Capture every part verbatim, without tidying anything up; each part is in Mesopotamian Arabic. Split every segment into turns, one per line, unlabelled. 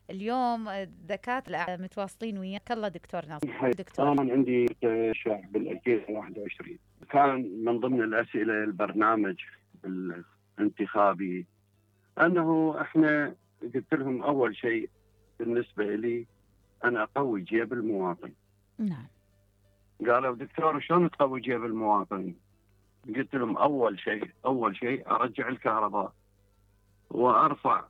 اليوم الدكاترة متواصلين وياك. الله دكتور ناصر. دكتور،
أنا عندي شهر بال ألفين وواحد وعشرين، كان من ضمن الأسئلة البرنامج الانتخابي أنه إحنا قلت لهم أول شيء بالنسبة لي أنا أقوي جيب المواطن.
نعم.
قالوا دكتور شلون تقوي جيب المواطن؟ قلت لهم أول شيء أول شيء أرجع الكهرباء وأرفع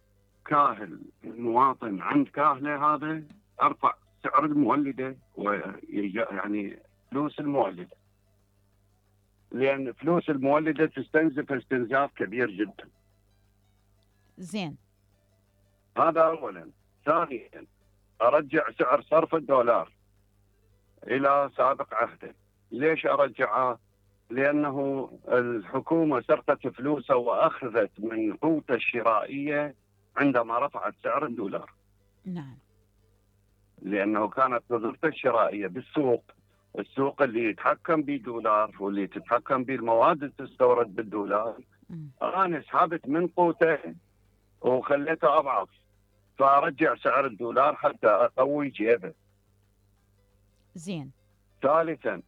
كاهل المواطن عند كاهله، هذا أرفع سعر المولدة ويعني فلوس المولدة، لأن فلوس المولدة تستنزف استنزاف كبير جدا.
زين.
هذا أولا. ثانيا أرجع سعر صرف الدولار إلى سابق عهده. ليش أرجعه؟ لأنه الحكومة سرقت فلوسه وأخذت من قوته الشرائية عندما رفعت سعر الدولار.
نعم.
لأنه كانت قدرته الشرائية بالسوق، السوق اللي يتحكم بالدولار واللي تتحكم بالمواد اللي تستورد بالدولار.
م.
أنا سحبت من قوته وخليته أضعف، فأرجع سعر الدولار حتى أقوي جيبه.
زين.
ثالثا،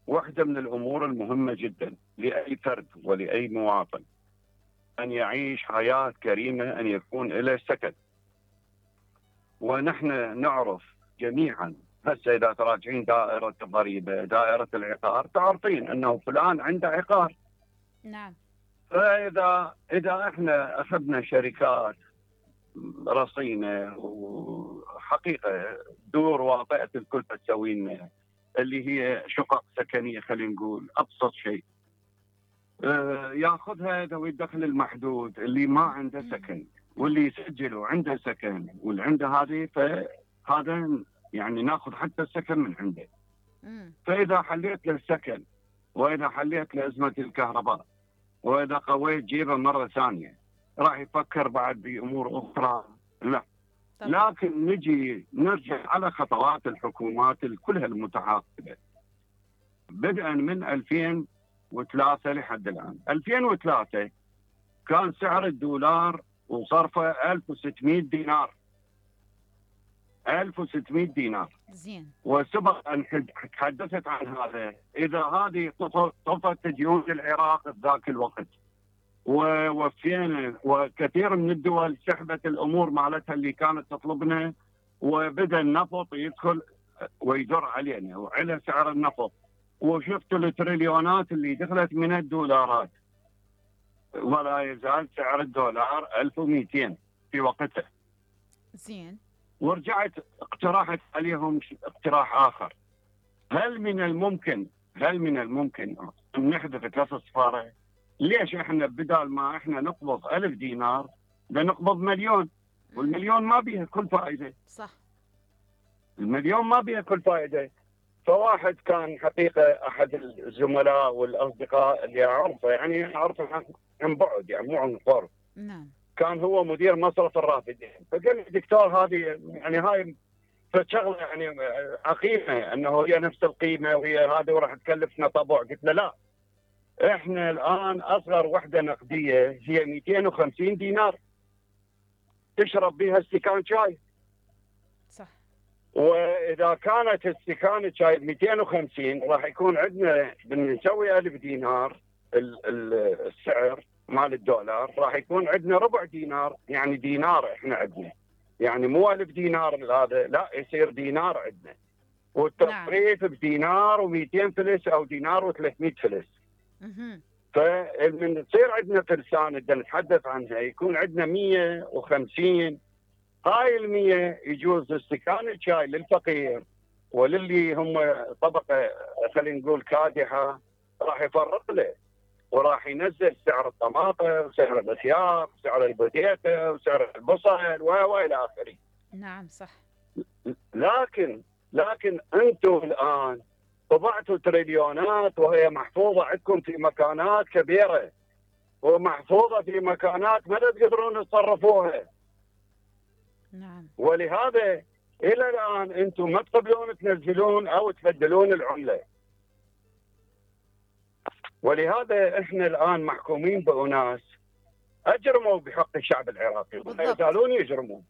واحدة من الأمور المهمة جدا لأي فرد ولأي مواطن أن يعيش حياة كريمة، أن يكون له سكن. ونحن نعرف جميعا هسه إذا تراجعين دائرة الضريبة دائرة العقار تعرفين أنه فلان عنده عقار.
نعم.
فإذا إذا إحنا أخذنا شركات رصينة وحقيقة دور واطئة الكلفة تسوي لنا اللي هي شقق سكنية، خلينا نقول أبسط شيء، آه ياخذها ذوي الدخل المحدود اللي ما عنده سكن، واللي يسجلوا عنده سكن واللي عنده هذه، فهذا يعني ناخذ حتى السكن من عنده. فإذا حليت له السكن وإذا حليت له أزمة الكهرباء وإذا قويت جيبه مرة ثانية راح يفكر بعد بأمور أخرى. لا طبعا. لكن نجي نرجع على خطوات الحكومات كلها المتعاقبة بدءا من ألفين وثلاثة لحد الآن. ألفين وثلاثة كان سعر الدولار وصرفه ألف وستمئة دينار. ألف وستمئة دينار.
زين.
وسبق أن تحدثت عن هذا، إذا هذه طفت ديون العراق في ذاك الوقت ووفينا، وكثير من الدول سحبت الأمور مالتها اللي كانت تطلبنا، وبدأ النفط يدخل ويدر علينا وعلى سعر النفط، وشفتوا التريليونات اللي دخلت من الدولارات، ولا يزال سعر الدولار ألف ومئتين في وقته.
زين.
ورجعت اقترحت عليهم اقتراح آخر، هل من الممكن هل من الممكن أن نحذف ثلاث صفارة؟ ليش احنا بدال ما احنا نقبض ألف دينار لنقبض مليون؟ والمليون ما بيها كل فائدة.
صح.
المليون ما بيها كل فائدة. فواحد كان حقيقة أحد الزملاء والأصدقاء اللي أعرفه، يعني أعرفه عن بعد يعني مو عن قرب.
نعم.
كان هو مدير مصرف الرافدين، فقال لي دكتور هذه يعني هاي فشغله يعني عقيمة أنه هي نفس القيمة وهي هذه وراح تكلفنا طبع. قلت له لا، احنا الآن أصغر وحدة نقدية هي مئتين وخمسين دينار تشرب بها استكان شاي.
صح.
وإذا كانت استكانة شاي مئتين وخمسين راح يكون عندنا بنسوي ألف دينار السعر مال الدولار، راح يكون عندنا ربع دينار، يعني دينار احنا عندنا، يعني مو ألف دينار هذا، لا يصير دينار عندنا، والتصريف نعم. بدينار ومئتين فلس أو دينار وثلاثمئة فلس. فمن تصير عندنا فرسان بدنا نتحدث عنها يكون عندنا مئة وخمسين، هاي المية يجوز استكان شاي للفقير وللي هم طبقة خلينا نقول كادحة راح يفرق له، وراح ينزل سعر الطماطم وسعر الخيار وسعر البتيتة وسعر البصل والى اخره.
نعم صح.
لكن لكن انتم الان طبعتوا تريليونات وهي محفوظة عندكم في مكانات كبيرة ومحفوظة في مكانات ما تقدرون تصرفوها.
نعم.
ولهذا إلى الآن أنتم ما تقبلون تنزلون أو تبدلون العملة. ولهذا إحنا الآن محكومين بأناس أجرموا بحق الشعب العراقي ولا يزالون يجرمون.